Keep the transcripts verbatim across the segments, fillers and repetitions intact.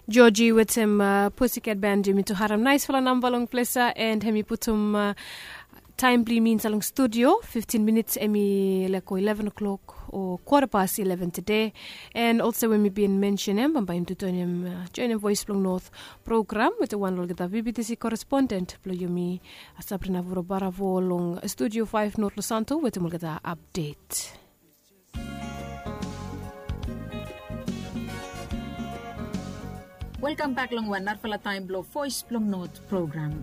Joji wetem Pussycat Band, yumi tu harem naesfala namba long ples ya, and hemi putum taem blong yumi insaed long studio. Fiftin minits hemi laek go ileven o'clock o kwata pas ileven tede. And olsem we mi bin mensenem, bambae yumi tu joenem Voes blong Not program wetem wan lo olgeta VBTC korespondent blong yumi, Sabrina Vorobaravo long studio faef Not Losanto wetem olgeta apdet. Welkam bak long wan narafala taem blong Voes blong Not program.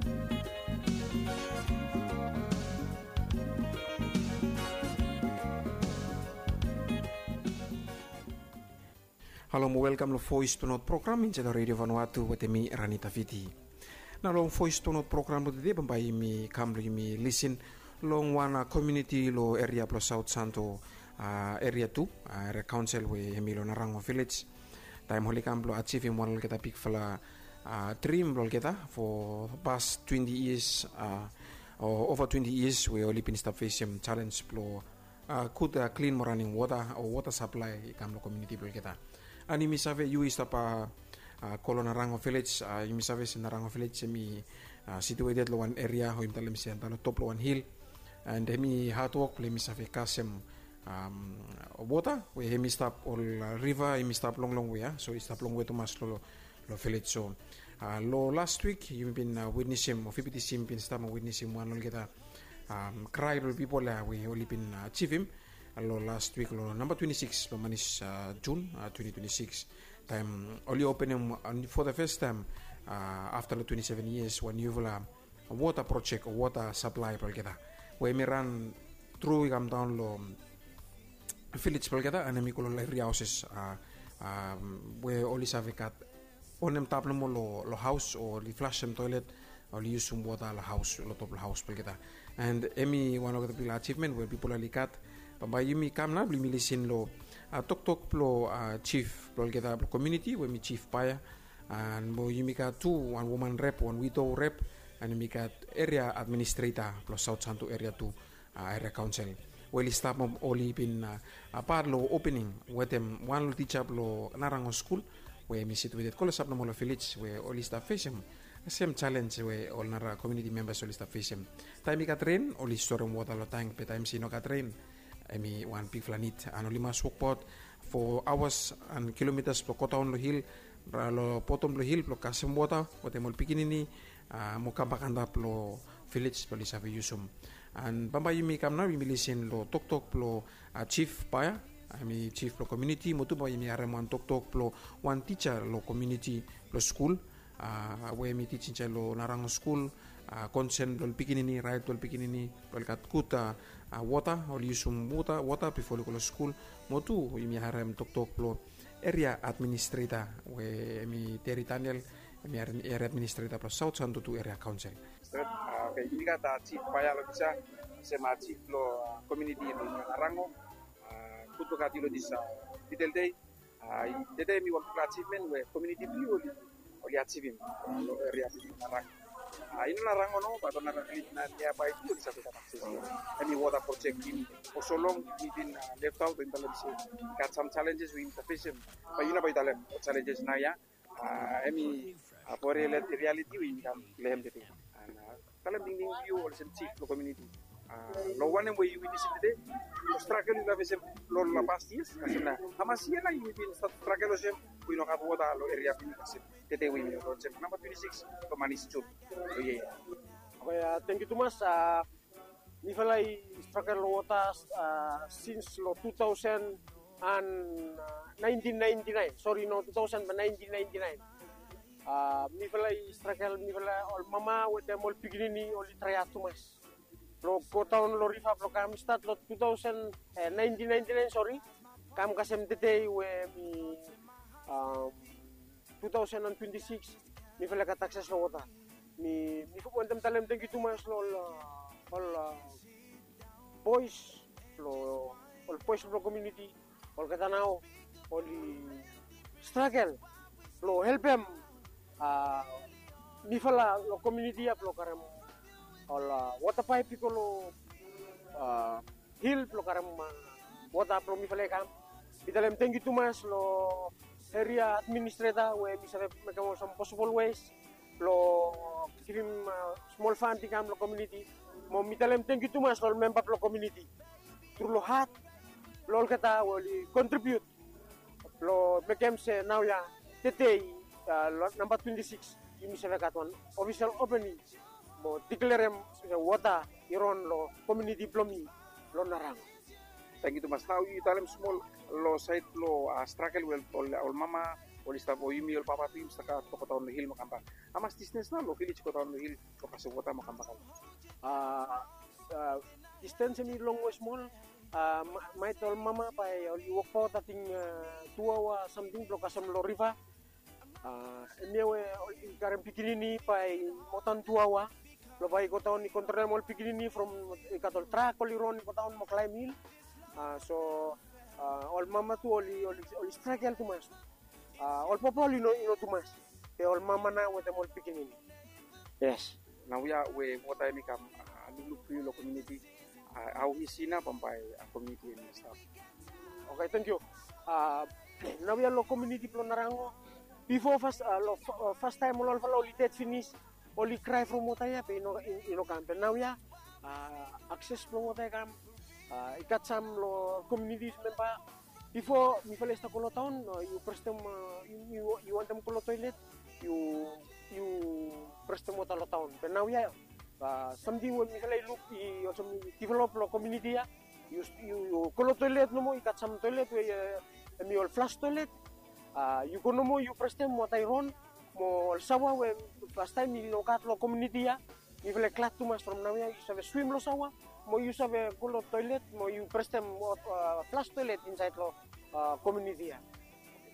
Halo mo welkam long Voes blong Not program insaed long Radio Vanuatu wetem mi, Rani Taviti. Nao long Voes blong Not program blong tede, bambae yumi kam blong yumi lisin long wan komuniti long eria blong Saot Santo, eria tu, eria kaonsel we hemi long Narango Vilej. Taem oli kam blong ajivim wan lo olgeta bigfala drim blong olgeta fo pas twenti yias o ova twenti yias we oli bin stap fesem jalenj blong gud klin mo ranem wota o wota saplae i kam long komuniti blong olgeta. And yumi save yu i stap go long Narango Vilej, yumi save se Narango Vilej hemi situated long wan eria o yumi talem se antap long top blong wan hil. And hemi hadwok blong hemi save kasem wota we hemi stap ol riva hemi stap longlong we ya, so i stap longwe tumas long vilej. So long las wik yumi bin witnesem o VBTC yumi bin stap mo witnesem wan lo olgeta krae blong pipol ya we oli bin ajivim long las wik long namba twenti sikis blong manis Jun twenti twenti sikis, taem oli openem fo the fes taem afta long twenti seven yias wan niufala wota projek o wota saplae blong olgeta we hemi ran tru i kam daon long vilej blong olgeta, and hemi go long evri haoses we oli save gat onem tap nomo long haos o oli flasem toelet, oli yusum wota long haos, long top long haos blong olgeta. And hemi wan olgeta bigfala ajivmen we pipol oli gat. Bambae yumi kam nao blong yumi lisin long toktok blong jif blong olgeta blong komuniti we hemi Jif Paea. And mo yumi gat tu wan woman rep, wan widow rep, and yumi gat eria administreta blong Saot Santo eria tu, eria kaonsel, we oli stap mo oli bin pat long opening wetem wan lo tija blong Narango skul we hemi situated klosap nomo long vilej we oli stap fesem sem jalenj we ol nara komuniti membas oli stap fesem. Taem i gat ren oli storem wota long tank, be taem se i no gat ren hemi wan bigfala nid, and oli mas wokbaot fo aoas and kilomitas blong godaon long hil, long botom blong hil blong kasem wota wetem ol pikinini mo kambak antap long vilej blong oli save yusum. And bambae yumi kam nao yumi lisin long toktok blong Jif Paea, hemi jif blong komuniti, mo tu bambae yumi harem wan toktok blong wan tija long komuniti blong skul we hemi tij insaed long Narango skul, konsen blong ol pikinini, raet blong ol pikinini blong oli gat gud wota, oli yusum wota bifo oli go long skul. Mo tu yumi harem toktok blong eria administreta we hemi Teri Daniel, hemi eria administreta blong Saot Santo tu eria kaonsel. Stret, oke, yumi gat Jif Paea long disa, sem Jif blong komuniti blong Narango. Gud blong gat yu long disa detail dei. Tede hemi wan bigfala ajivmen we komuniti blong yu oli ajivim long eria blong Narango. I no Narango nomo, bat ol nara vilej niabae tu oli save gat akses long hemi wota projek blong yumi. Fo so long yumi bin leftaot, we yumi talem se i gat sam jalenjes we yumi save fesem. Bae yu nao bae yu talem ol jalenjes naoia. Hemi fo rialiti we yumi kam long hem tede. And talem tingting blong yu olsem jif blong komuniti. Long wanem we yu witnesem tede, long stragel yu laik fesem long ol pas yias, kasem nao hamas yia nao yu bin stap stragel olsem we yu no gat wota long eria blong yu, kasem tede we yumi long olsem namba twenti sikis blong manis Jun long yia ya. Oke, tangkiu tumas. Mifala i stragel long wota sins long tu taosen and naentin naenti naen, sori, no, tu taosen be naentin naenti naen. Mifala i stragel, mifala ol mama wetem ol pikinini oli traeat tumas blong godaon long riva blong kam stat long tu taosen, naentin naenti naen, sori, kam kasem tede we mi tu taosen and twenti sikis, mifala i gat akses long wota. Mi, mi wantem talem tangkiu tumas long ol, ol boes, long ol boes blong komuniti, olgeta nao oli stragel blong helpem mifala long komuniti ya blong karem ol wota paep i go long hil blong karem wota blong mifala i kam. Mi talem tangkiu tumas long eria administreta we mi save mekem ol sam posibol wes blong givim smol fand i kam long komuniti. Mo mi talem tangkiu tumas long ol memba blong komuniti tru long hat blong olgeta we oli kontribiut blong mekem se naoia tede, long namba twenti sikis, yumi save gat wan ofisel opening mo diklerem se wota i ron long komuniti blong mi long Narango. Tangkiu tumas. Nao yu talem smol long saed blong stragel we ol mama oli stap o yumi ol papa tu yumi stap gat blong godaon long hil mo kambak. Hamas distens nao long vilej godaon long hil blong kasem wota mo kambak? Distens hemi longwe smol. Maet ol mama bae oli wokbaot ating tu aoa samting blong kasem long riva. Hemia we oli karem pikinini bae moa dan tu aoa blong bae i godaon i kontrolem ol pikinini from i gat ol trak oli ron i godaon mo klaem hil. So ol mama tu oli stragel tumas. Ol papa oli no tumas, be ol mama nao wetem ol pikinini. Yes. Naoia we wota hemi kam lukluk blong yu long komuniti, hao i si nao bambae komuniti hemi stap? Oke, tangkiu. Naoia long komuniti blong Narango, bifo fas long fastaem ol olfala oli ded finis, oli krae from wota ia be i no kam. Be naoia akses blong wota i kam. I gat sam long komuniti memba. Bifo mifala i stap go long taon, yu prestem, yu wantem go long toelet, yu prestem wota long taon. Be naoia samting we mifala i luk i olsem i divelop long komuniti ia. Yu go long toelet nomo, i gat sam toelet we hemi ol flas toelet. Yu go nomo yu prestem wota i ron. Mo ol saoa we fastaem i no gat long komuniti ia, mifala i glad tumas from naoia yu save swim long saoa mo yu save go long toelet mo yu prestem flas toelet insaed long komuniti ia.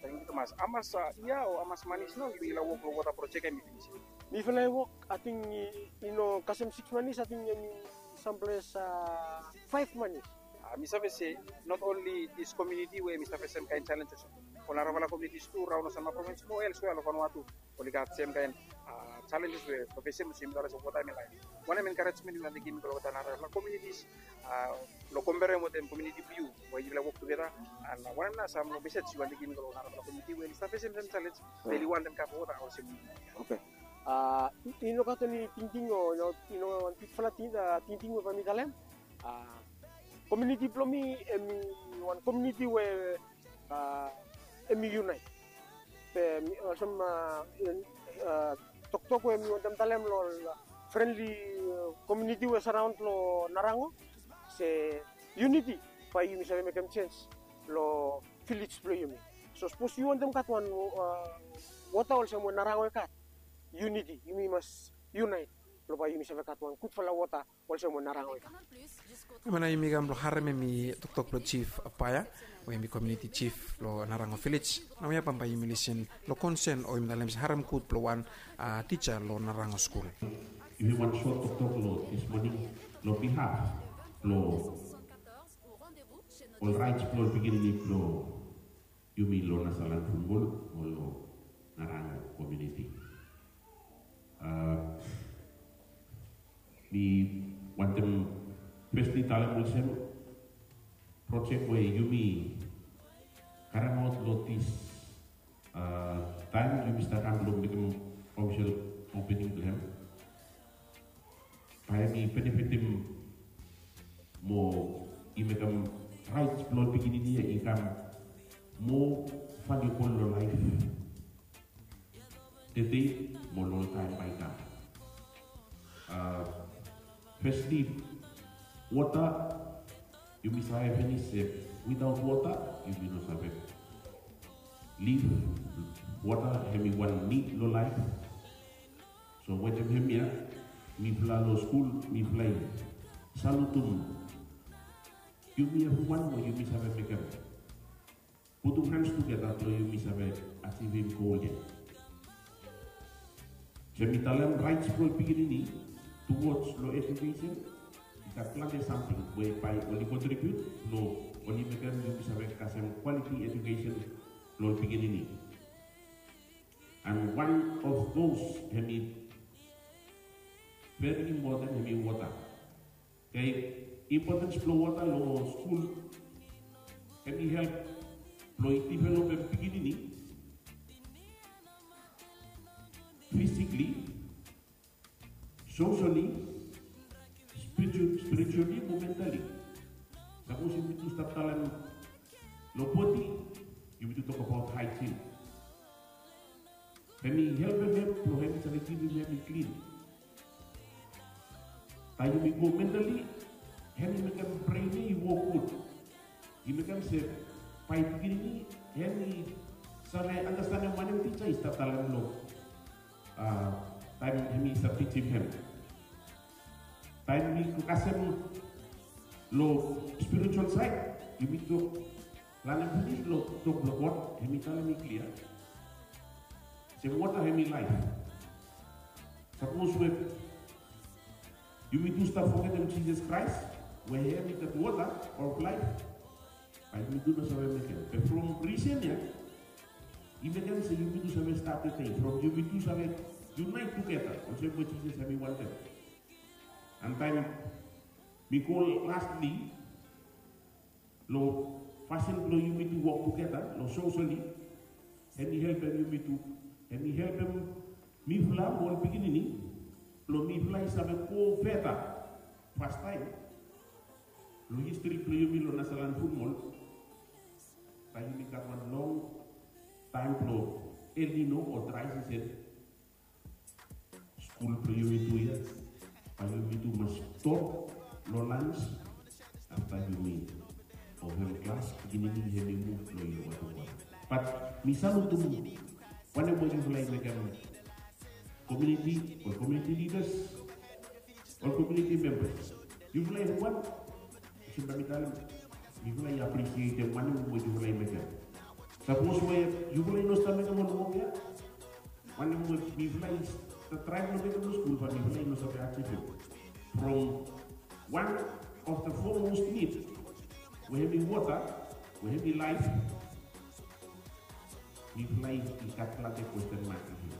Tangkiu tumas. Hamas yia o hamas manis nao yumi laik wok long wota projek hemi finis? Mifala i wok ating i no kasem sikis manis, ating hemi samples faef manis. Mi save se not only this community we mi stap fesem kaen challenges, ol narafala communities tu raon long Sanma Province mo elsewhere long Vanuatu oli gat sem kaen challenges we fesem olsem yumi talem se wota hemi laef. Wanem encouragement yu wantem givim long ol narafala communities long komperem wetem community blong yu we yufala wok tugeta, and wanem nao sam long message yu wantem givim long ol narafala community we oli stap fesem sem challenge be oli wantem gat wota olsem? Oke. I no gat eni tingting o i no wan bigfala tingting we bae mi talem. Komuniti blong mi hemi wan komuniti we hemi yunaet. Be olsem toktok we mi wantem talem long ol frenli komuniti we saraon long Narango, se yuniti bae yumi save mekem jenis long vilej blong yumi. So sapos yu wantem gat wan wota olsem we Narango i gat, yuniti, yumi mas yunaet blong bae yumi save gat wan gudfala wota olsem we Narango i gat. Hemia nao yumi kam blong harem hemi toktok blong Jif Paea we hemi komuniti jif blong Narango vilej. Naoia bambae yumi lisin long konsen o yumi talem se harem gud blong wan tija long Narango skul. Yumi wan sot toktok long dis moning long bihaf blong ol raets blong ol pikinini blong yumi long Nasaland Fulmul mo long Narango komuniti. Mi wantem fesli talem olsem, projek we yumi karemaot long dis taem yumi stap kam blong mekem ofisel opening blong hem, bae hemi benefitim mo i mekem raets blong ol pikinini ia i kam moa valubol long laef tede mo long ol taem bae i kam. Fesli, wota, yumi save finis se witaot wota yumi no save liv. Wota hemi wan nid long laef. So wetem hemia mifala long skul mifala i salutum yumi evriwan we yumi save mekem putum hans tugeta blong yumi save ajivim gol ya. So mi talem raets blong ol pikinini tuwods long ejukesen i gat plante samting we bae oli kontribiut blong oli mekem yumi save kasem kwaliti ejukesen blong ol pikinini. And one of those hemi veri impoten hemi wota. Oke, impotens blong wota long skul hemi help blong i divelopem pikinini physically, socially, spiritu- spiritually mo mentally. Sapos yumi tu stap talem long bodi, yumi tu tokbaot haejin. Hemi helpem hem blong hemi save kipim hem i klin. Taem yumi go mentally, hemi mekem bren i wok gud. I mekem se bae pikinini hemi save andastanem wanem tija i stap talem long taem hemi stap tijim hem. Taem mi kasem long spiritual saed, yumi tok lanem pinis long tok blong God, hemi talem i klia se wota hemi laef. Sapos we yumi tu stap fogetem Jisas Kraes we hem i gat wota of laef, bae yumi tu no save mekem. Be from risen ya, i mekem se yumi tu save stap tede from yumi tu save yunaet tugeta olsem we Jisas hemi wantem. An taem mi go lastli long fasin blong yumi tu wok tugeta long sosoli, hemi helpem yumi tu, hemi helpem mifala mo ol pikinini blong mifala i save go feta fastaem long histri blong yumi long Nasaland Futmol. Bae yumi gat wan long taem blong El Nino o drae sisen, skul blong yumi tu ya, bae yumi tu mas stop long lans afta yumi o hem klas, pikinini hemi muv long yumi wok. Bat mi salutem wanem we yufala i mekem, komuniti, ol komuniti lidas, ol komuniti membas. Yufala evriwan, olsem bae mi talem, mifala i aprisietem wanem we yufala i mekem. Sapos we yufala i no stap mekem ol wok ya, wanem we mifala i stap traem long mekem long skul, bat mifala i no save ajivem. From wan of the foremost nid we hemi wota, we hemi laef, mifala i gat plante kwesten mak long hem.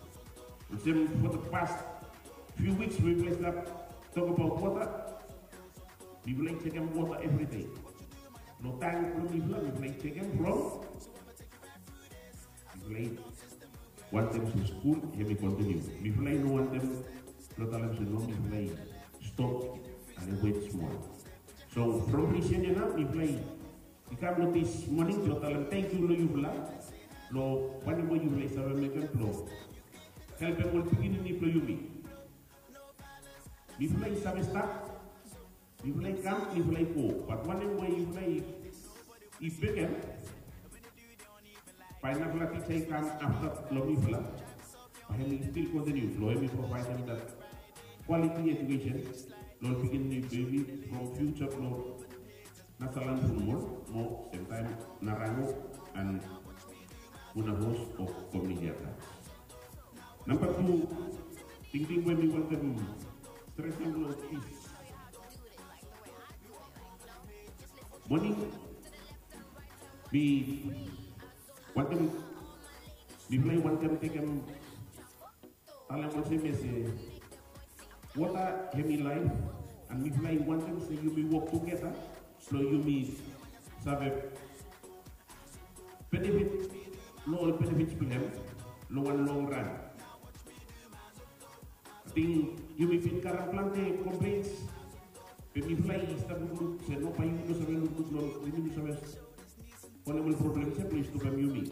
Olsem for the past few weeks we mifala i stap tokbaot wota, mifala i jekem wota evri dei. Long tank blong mifala, mifala i jekem from, mifala i wantem se skul hemi kontiniu. Mifala i no wantem blong talem se no, mifala i stop ane wet smol. So from risen ya nao mifala i i kam long dis moning blong talem tangkiu long yufala long wanem we yufala i save mekem blong helpem ol pikinini blong yumi. Mifala i save stap, mifala i kam, mifala i go, bat wanem we yufala i, i mekem, bae narafala tija i kam afta long mifala, bae hemi stil kontiniu blong hemi provaedem dat quality education long ol pikinini blong yumi from future blong Nasaland Futmol mo semtaem Narango and Funafuti o komuniti atas. Namba tu tingting we mi wantem stresem long dis moning, mi wantem, mifala i wantem tekem talem olsem ya se wota hemi laef, and mifala i wantem se yumi wok tugeta blong yumi save benefit long ol benefits blong hem long wan long ran. Ating yumi bin karem plante complaints, be mifala i stap lukluk se no, bae yumi no save lukluk long, yumi no save wanem ol problems ya blong i stopem yumi.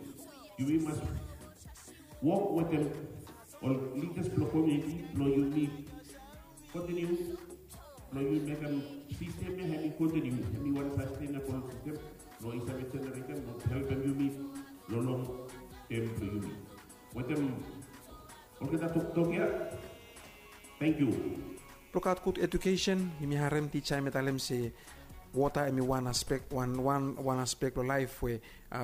Yumi mas wok wetem ol lidas blong komuniti blong yumi kontiniu blong yumi mekem sistem ya hemi kontiniu, hemi wan sastenabol sistem blong i save jeneretem mo helpem yumi long long tem blong yumi. Wetem olgeta toktok ya. Tangkiu. Blong gat gud edukesen, yumi harem tija hemi talem se wota hemi wan aspek, wan, wan, wan aspek blong laef we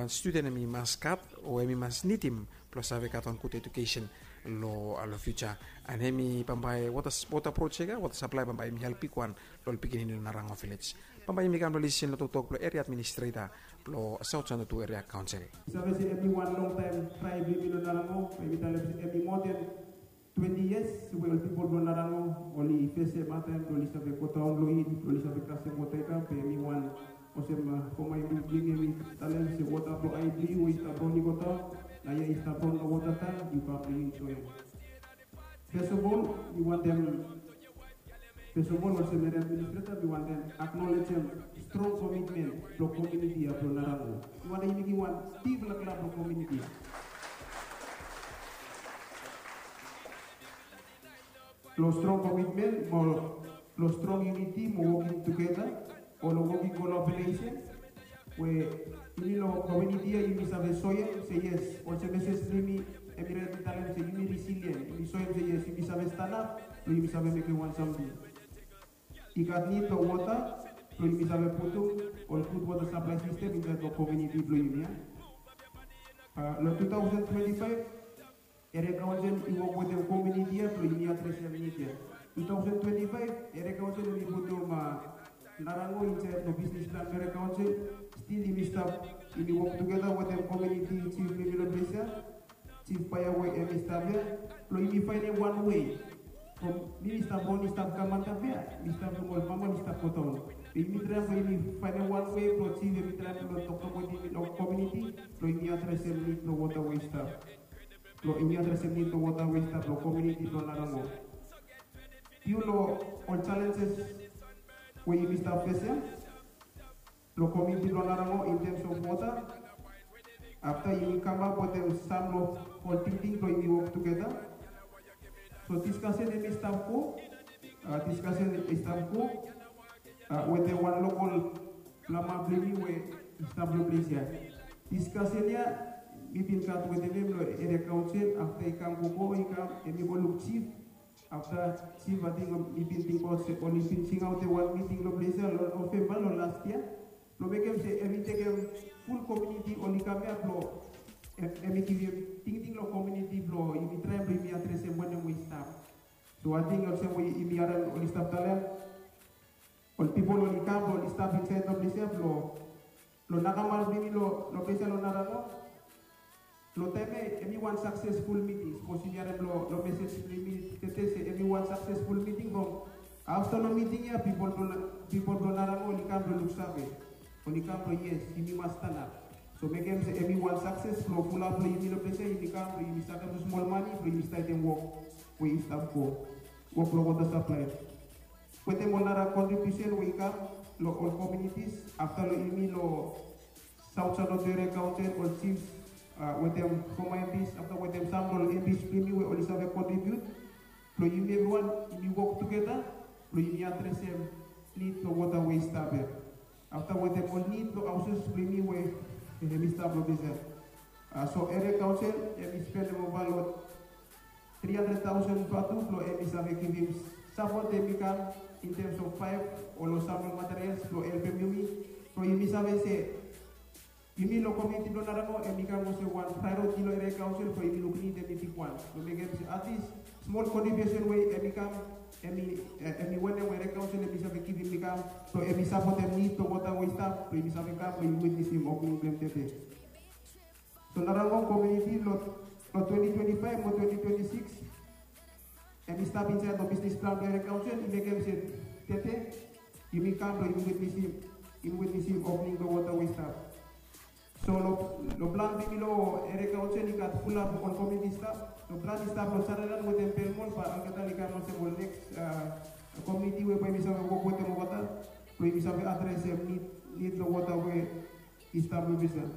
studen hemi mas gat o hemi mas nidim blong save gat wan gud edukesen long, long fiuja. And hemi bambae wota, wota projek ya, wota saplae bambae hemi help bigwan long ol pikinini long Narango vilej. Bambae yumi kam long lisin long toktok blong eria administreta blong Saut Santo Tu Eria Kaonsel. Save se hemi wan longtaem trae blong yumi long Narango, bae yumi talem se hemi moa den twenti yias we ol pipol blong Narango oli fesem hataem blong oli save godaon long hil, blong oli save kasem wota i kam, be hemi wan olsem foma i bring, hemi talem se wota blong ae blong yu we i stap raon i godaon, naoia i stap raon long wota taem, yu kam blong yu enjoem. First of all, mi wantem, first of all, olsem area administrator, mi wantem acknowledgem strong commitment blong komuniti ia blong Narango. Mi wantem yumi givim wan bigfala klap blong komuniti ia. Long strong commitment mo long strong unity mo working together o long working collaboration we yumi long komuniti ia yumi save soem se yes, olsem mesej blong yumi hemi rait long talem se yumi resilient, yumi soem se yes, yumi save stanap blong yumi save mekem wan samting. I gat nid long wota blong yumi save putum ol gud wota saplai sistem insaed long komuniti blong yumi ia. Long two thousand twenty-five, Area Council i wok wetem komuniti ia blong yumi adresem nid ia. Two thousand twenty-five, Area Council hemi putum Narango insaed long bisnis plan blong Area Council. Stil yumi stap, yumi wok tugeta wetem komuniti jif blong yumi long ples ia, Jif Paea we hemi stap ia, blong yumi faenem wan wei. From mi, mi stap ron, mi stap kam antap ia, mi stap luk ol fama oli stap godaon. Be yumi traem blong yumi faenem wan wei blong jif hemi traem blong toktok wetem yumi long komuniti blong yumi adresem nid blong wota we i stap. Blong yumi adresem nid blong wota we i stap long komuniti blong Narango. Fiu long ol jalenjes we yumi stap fesem long komuniti blong Narango in terms of wota. Afta yumi kamap wetem sam long ol tingting blong yumi wok tugeta. So diskasen hemi stap go, diskasen i stap go wetem wan lokol plama blong yumi we i stap long ples ia. Diskasen ia mi bin gat wetem hem long Area Council, afta i kam gogo, i kam, hemi go luk jif. Afta jif, ating, mi bin tingbaot se oli bin singaotem wan miting long ples ia long Novemba long las yia blong mekem se hemi tekem ful komuniti oli kam ia blong hemi givim tingting long komuniti blong yumi traem blong yumi adresem wanem we i stap. So ating olsem we yumi harem oli stap talem, ol pipol oli kam blong oli stap insaed long ples ia blong, long nakamal blong yumi long ples ia long Narango. Long taem ia hemi wan saksesful miting, sapos yumi harem long mesej blong yumi tede se hemi wan saksesful miting from afta long miting ia pipol blong Narango oli kam blong luksave, oli kam blong yes, yumi mas stanap. So mekem se hemi wan sakses blong fulap blong yumi long ples ia, yumi kam blong yumi sakrifes smol mane blong yumi statem wok we i stap go, wok blong wota saplai. Wetem ol nara kontribiusen we i kam long ol komunitis, afta long yumi long South San Jose Area Council, ol jifs wetem foma MPs, afta wetem sam long ol MPs blong yumi we oli save kontribiut, blong yumi evriwan yumi wok tugeta blong yumi adresem nid blong wota we i stap ia. Afta wetem ol nid blong haoses blong yumi we hemi stap long ples ia. So Area Council hemi spendem ova long tri handred taosen vatu blong hemi save givim sapot hemi kam in terms of paep o long sam long materials blong helpem yumi. So yumi save se yumi long komuniti blong Narango hemi kam olsem wan praeoriti long Area Council blong yumi luk nid hemi bigwan blong mekem se atlis smol kontribiusen we hemi kam, hemi wanem we Area Council hemi save givim i kam blong hemi sapotem nid blong wota we i stap blong yumi save kam blong yumi witnesim opening blong hem tede. So Narango komuniti long twenti twenti faef mo twenti twenti sikis, hemi stap insaed long bisnis plan blong Area Council, i mekem se tede yumi kam blong yumi witnesim, yumi witnesim opening blong wota we i stap. So long plan blong yumi long Area Council i gat fulap ol komuniti i stap. Long plan i stap long Sutherland wetem Belmont, bae olgeta oli kam olsem ol neks komuniti we bae yumi save wok wetem olgeta blong yumi save adresem nid, nid long wota we i stap long ples ia.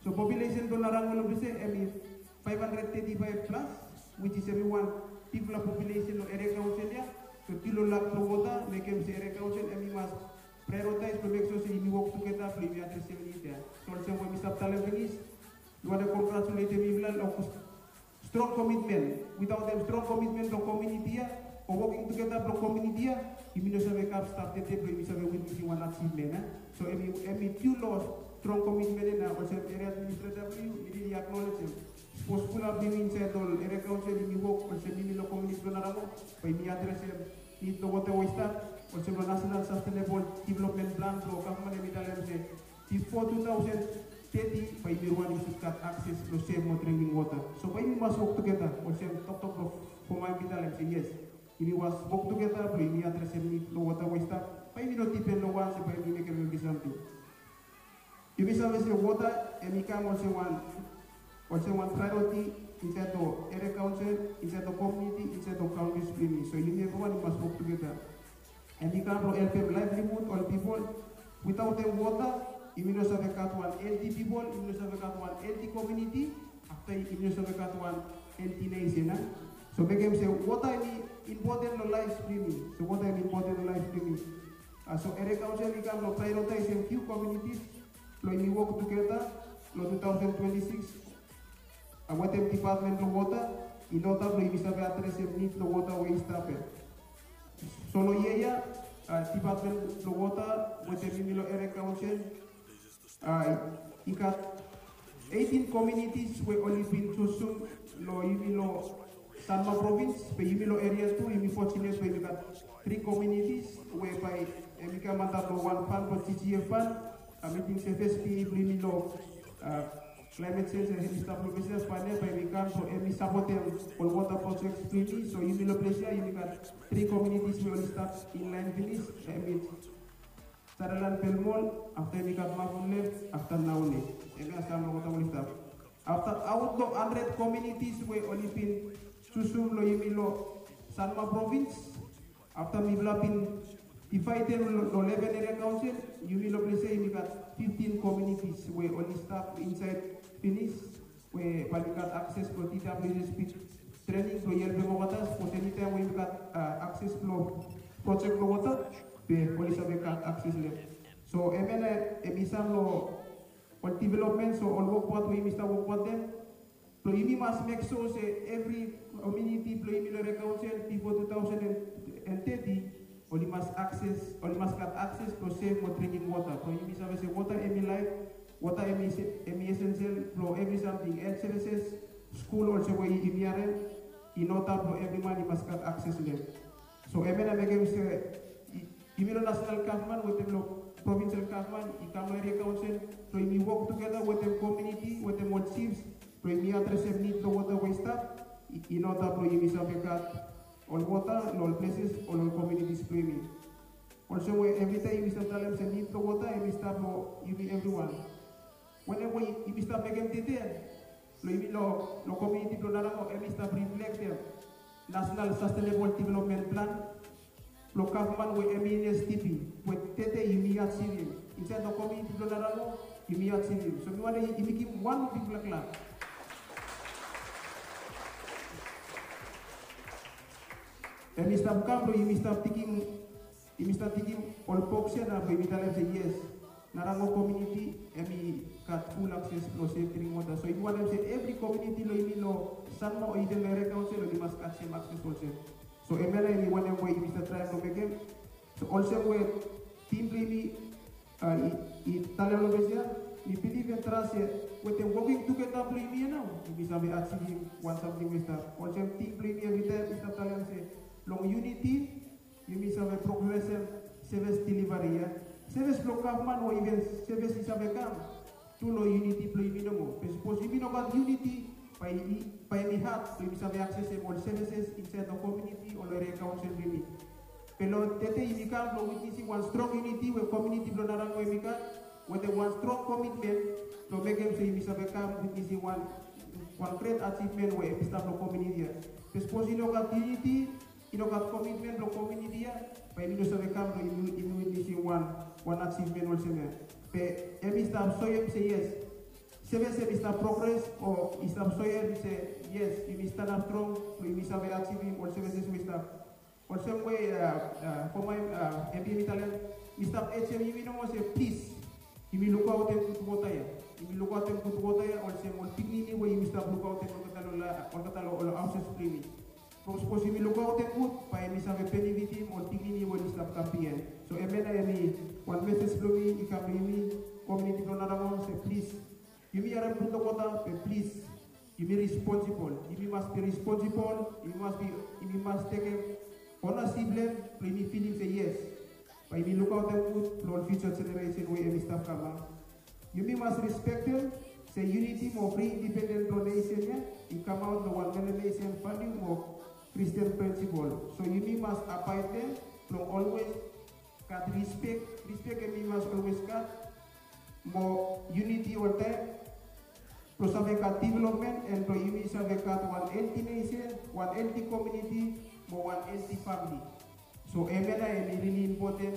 So populesen blong Narango long ples ia hemi faef handred teti faef plas, which is hemi wan bigfala populesen long Area Council ia. So due long lak blong wota mekem se Area Council hemi mas praeoritaes blong mek sua se yumi wok tugeta blong yumi adresem nid ia. So olsem we mi stap talem finis, mi wantem kongratuletem yufala long strong komitmen. Witaotem strong komitmen blong komuniti ia o woking tugeta blong komuniti ia, yumi no save kam stap tede blong yumi save witnesim wan ajivmen ia. So hemi, hemi due long strong komitmen ia, na olsem eria administreta blong yu, mi rili aknolejem. Sapos fulap blong yumi insaed long Area Council yumi wok olsem yumi long komuniti blong Narango, bae yumi adresem nid blong wota we i stap olsem long National Sustainable Development Plan blong gavman, hemi talem se bifo tu taosen teti bae yumi wan i sud gat akses long sef mo dringking wota. So bae yumi mas wok tugeta olsem toktok blong foma hemi talem se yes, yumi mas wok tugeta blong yumi adresem nid long wota we i stap, bae yumi no dipen long wan se bae yumi mekem evri samting. Yumi save se wota hemi kam olsem wan olsem wan priority insaed lo eria kaonsel, insaed lo komuniti, insaed lo kaontis blo yumi. So yumi evriwan i mas wok tugeta. Hem i kam blo helpem laevlihud ol pipol. Witaotem wota, yumi no save gat wan helti pipol, yumi no save gat wan helti komuniti, afta yumi no save gat wan helti nesen, a? So mekem se wota hem i impoten lo laef blo yumi. So wota hem i impoten lo laef blo yumi. A, so eria kaonsel i kam blo prioritaesem fiu komunitis blo yumi wok tugeta lo two thousand twenty-six. A, wetem dipatmen blo wota, in order blo yumi save adresem nid blo wota we i stap ia. So lo yia ya, a, dipatmen blo wota wetem yumi lo eria kaonsel, a, i gat eighteen komunitis we oli bin jusum lo yumi lo Sanma provins, be yumi lo eria tu, yumi fortunate be yumi gat tri komunitis we bae hem i kam antap lo wan fan blo G G F fan, a, miting se fes P E blo yumi lo, a, climate change, hem i stap lo ples ia, fan ia bae hem i kam, so hem i sapotem ol wota projects blo yumi. So yumi lo ples ia, yumi gat tri komunitis we oli stap in laen finis, hem i Sutherland Belmont, afta yumi gat Mount Olive, afta Naoni. Hemia sam lo wota we oli stap. Afta aot lo handred komunitis we oli bin jusum lo yumi lo Sanma provins. Afta mifala bin divaedem lo, lo leven eria kaonsel, yumi lo ples ia yumi gat fiftin komunitis we oli stap insaed finis. We bae oli gat akses blo T W S B trening blo helpem olgeta, sapos enitaem we yumi gat, a, akses blo projek blo wota, be oli save gat akses lo hem. So hemia nao hem i sam lo ol development, so ol wokbaot we yumi stap wokbaotem. Blo yumi mas mek sua se evri komuniti blo yumi lo eria kaonsel bifo two thousand and thirty, oli mas akses, oli mas gat akses blo sef mo dringking wota. Blo yumi save se wota hem i laef, wota hem i se-, hem i esensial blo evri samting, health services, skul, olsem we yumi harem, in order blo evri man i mas gat akses lo hem. So hemia nao mekem se, i-, yumi lo nasenal gavman wetem lo provinsel gavman, i kam lo eria kaonsel, blo yumi wok tugeta wetem komuniti, wetem ol jifs, blo yumi adresem nid blo wota we i stap, i-, in order blo yumi save gat ol wota lo ol pleses o lo ol komunitis blo yumi. Olsem we evritaem yumi stap talem se nid blo wota hem i stap lo yumi evriwan. Wanem we yumi stap mekem tede, lo yumi lo, lo komuniti blo Narango, hem i stap riflektem National Sustainable Development Plan blo gavman we hem i in S D P, we tede yumi ajivim. Insaed lo komuniti blo Narango, yumi ajivim. So mi wantem yumi givim wan bigfala klap. Hem i stap kam blo yumi stap tigim, yumi stap tigim ol boks ia nao blo yumi talem se yes, Narango komuniti hem i gat ful akses blo sef dringking wota. So yumi wantem se evri komuniti lo yumi lo Sanma o iven lo eria kaonsel oli mas gat sem akses olsem. So hemia nao hem i wanem we yumi stap traem blo mekem. So olsem we tim blo yumi, a, i, i talem lo ples ia, mi bilif and tras se wetem woking tugeta blo yumi ia nao, yumi save ajivim wan samting we i stap. Olsem tim blo yumi evritaem i stap talem se long yuniti, yumi save progresem sevis delivari ia. Sevis blo gavman o iven sevis i save kam tru lo yuniti blo yumi nomo. Be sapos yumi no gat yuniti, bae i, bae hem i had blo yumi save aksesem ol sevises insaed lo komuniti o lo eria kaonsel blo yumi. Be lo tede yumi kam blo witnesim wan strong yuniti we komuniti blo Narango hem i gat, wetem wan strong komitmen blo mekem se yumi save kam witnesim wan, wan gret ajivmen we hem i stap lo komuniti ia. Be sapos i no gat yuniti, i no gat komitmen blo komuniti ia, bae yumi no save kam blo yumi, yumi witnesim wan, wan ajivmen olsem ia. Be hem i stap soem se yes, sevis hem i stap progres o i stap soem se yes, yumi stanap strong blo yumi save ajivim ol sevises we i stap. Olsem we, a, a, foma, a, M P hem i talem, mi stap ajem yumi nomo se plis, yumi lukaotem gud wota ia. Yumi lukaotem gud wota ia olsem ol pikinini we yumi stap lukaotem olgeta lo la-, olgeta lo ol haoses blo yumi. From sapos yumi lukaotem gud, bae yumi save benefitim ol pikinini we oli stap kam bihaen. So hemia nao hem i wan meses blo mi i kam lo yumi komuniti blo Narango se plis, yumi harem gud lo wota, be plis, yumi responsibol. Yumi mas bi responsibol, yumi mas bi, yumi mas tekem onasip lo hem, blo yumi filim se yes, bae yumi lukaotem gud lo ol fiuja jeneresen we hem i stap kam. Yumi mas respektem se yuniti mo fri indipenden blo nesen ia i kamaot lo wan melanesen valiu mo Kristin prinsipol. So yumi mas abaed lo hem blo olwes gat rispek, rispek hem i mas olwes gat, mo yuniti oltaem, Blong save gat development and blong yumi save gat wan helti nesen, wan helti komuniti, mo wan helti famili. So hemia nao hemi rili impoten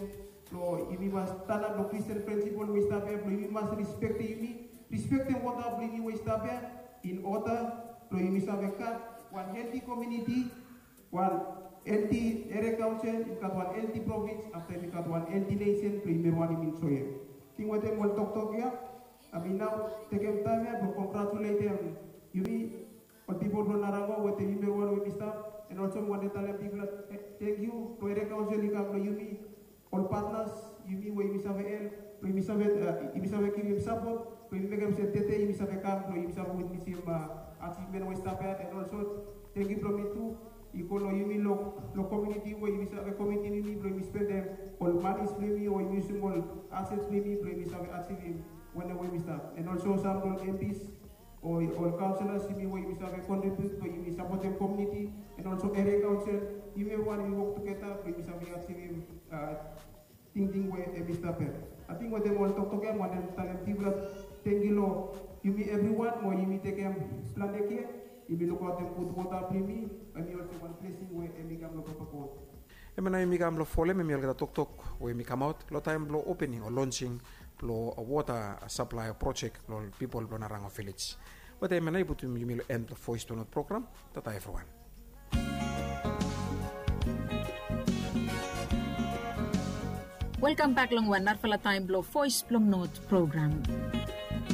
blong yumi mas stanap long Kristin prinsipol we i stap ya blong yumi mas rispektem yumi, rispektem wota blong yumi we i stap ya, in oda blong yumi save gat wan helti komuniti, wan helti eria kaonsel, yumi gat wan helti provins, afta yumi gat wan helti nesen blong yumi wantem enjoem. Ting wetem ol toktok ya, hemi nao tekem taem ya blong kongratuletem yumi ol pipol blong Narango wetem yumi wan we yumi stap, and also mi wantem talem bigfala tangkiu blong eria kaonsel i kam blong yumi, ol patnas, yumi we yumi save help, blong yumi save, yumi save givim sapot blong yumi mekem se tede yumi save kam blong yumi save witnesem ajivmen we i stap ya, and also tangkiu blong mi tu i go long yumi long komuniti we yumi save komitim yumi blong yumi spendem ol manis blong yumi o yumi yusum ol asets blong yumi blong yumi save ajivim wanem we yumi stap, and also sam long MPs o ol kaonselas yumi we yumi save kontribiut blong yumi sapotem komuniti, and also eria kaonsel, yumi evriwan yumi wok tugeta blong yumi save ajivim tingting we hemi stap ya. Ating wetem ol toktok ya mi wantem talem bigfala tangkiu long yumi evriwan mo yumi tekem plante kea, yumi lukaotem gud wota blong yumi, hemi olsem wan blesing we hemi kam long papa God. Hemia nao yumi kam long folem hemi olgeta toktok we yumi kamaot long taem blong opening o lonsing blong wota saplae projek long ol pipol blong Narango vilej. Wetem hemia nao i putum yumi long en blong Voes blong Not program. Tata evriwan. Welkam bek long wan narafala taem blong Voes blong Not program.